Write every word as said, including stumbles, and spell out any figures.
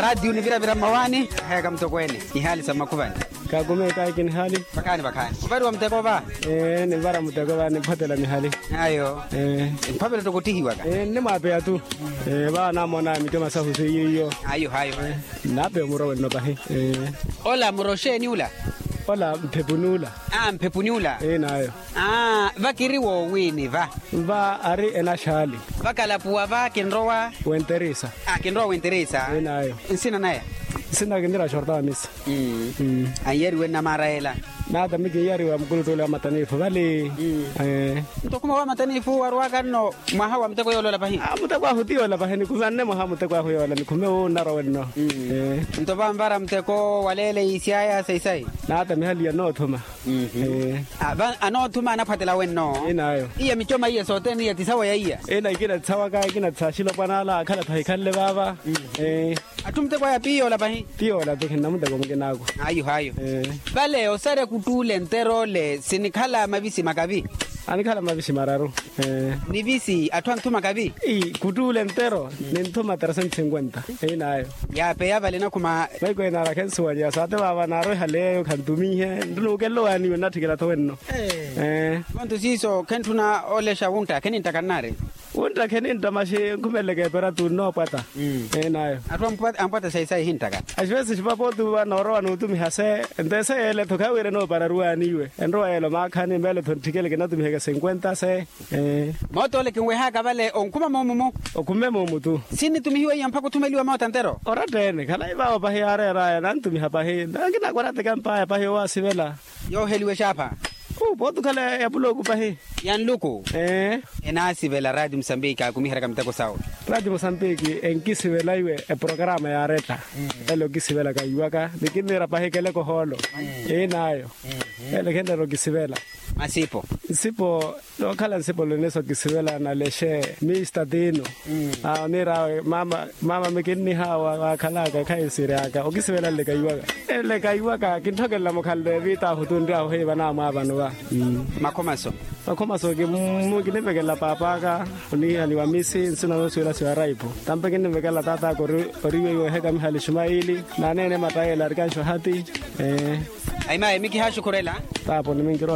Raatiyo niviravira mmawaani. Aheeka mutokweene. Nihaali sa mmakhuvani. Kaakumeyi kayi kinihaali. Vakhaani vakhaani ovariwa muteko va. Ninvara muteko va niphotela nihaali. Ayo. Niphavela toko ottihiwaka. Nnimwaapeya tu. Vava namoona mitoma sahu seiyo iyo. Ayo hayo. Nnaapeya omuro wenno pahi. Ola muro xeeni ula? Ola mphepuni ula. Mphepuni ula. Ii nayo. Vakiri woowini va. Va ari enaxaali. Vakalapuwa va kinrowa. Wenterisa. Kinrowa wenterisa. Ii nayo. Nsina naya? Nsina kinira xorta wa misa. Anyariwe nnamara ela. Nata mi kinyariwa mukuluttule wa matanifu vali. Nto khuma wa matanifu warwaka nno. Mwaha wa muteko yoola ola pahi. Muteko ahu ti yoola pahi nikhumanne mwaha wa muteko ahu yoola nikhume wo nnarwa wenno. Nto vanvara muteko waleele iisyaya sayi-sayi. Nata mihali yanoothuma. Anoothuma anaphwatela wenno. Inayo. Iya mitoma iya sothene iya ti sawa ya iya. Ina ikina ti sawaka ikina ti saxilopwana ala akhala thahi ikhanle vava. Atthu muteko aya piiyoola pahi. Piiyoola tu khinna muteko mukinaako. Ayo hayo. Vale osarya kuttuule nter'ole sinikhala mavisi makavi. Anikhala mavisi mararu. Nivisi atthu anthuma kavi. Kuttuule ntero ninthuma tresento cinkwenta. Inayo. Yaapeya vale nakhuma. Maiko enaarakhensuwanya saate vava naarwehaleyo khantumihe. Nrunuukelelo waaniwe nnatthikela-tho wenno. Vonto siiso khentthuna olexa wuntta kheninttaka nnaari. Wuntta khenintta maxi nkhumeleleke epera tu nnoopwata. Enayo. Atthu ampwata sayi-sayi ehinttaka. Axivesi xipapo tu vanoorowa nuutumiha se. Nte se yeele-tho khawiire noopararuwaani iwe enrowa yeelo maakhani meelo-tho ntthikele kinatumiheke cinkwenta se. Moota ole kinwehaka vale onkhuma moomumu. Okhumme moomu tu. Sinnitumihiwa iya mpakha othumeliwa moota ntero. Oratta-ene khalayi vavo pahi yaareeraya nantumiha pahi. Nankinakwaratteke ampaya pahi owaasivela. Yooheliwa exaapha. Upo otukhala ya pulooku pahi. Ya nluku. Enaasivela raati musambiki kaakumiheryaka miteko sawe. Raati musambiki enkisivela iwe eprokarama yaaretta. Ele okisivela kaiwaka nikinniira pahi keleke ohoolo. Enayo. Ele khenreera okisivela. Masipo. Nsipo. Nookhala nsipo loniso kisivela nalexe mista tino. Oniira awe mama mikinniha wakhalaka khayi nsiryaka okisivela nlekaiwaka. Nlekaiwaka kintthokelela mukhanle viitaahu tu nryaahu hiiva naamwaavano va. Makhomaso. Makhomaso kinnivekelela paapaka. Oniihani wa misi nsina noosiwela siwaraipo. Tampe kinnivekelela taataka ori iwe iweeheka mihali xumaili. Naaneene mattayela arikanxi ohati. Ahimaye mikihaxukhurela. Taapo niminki.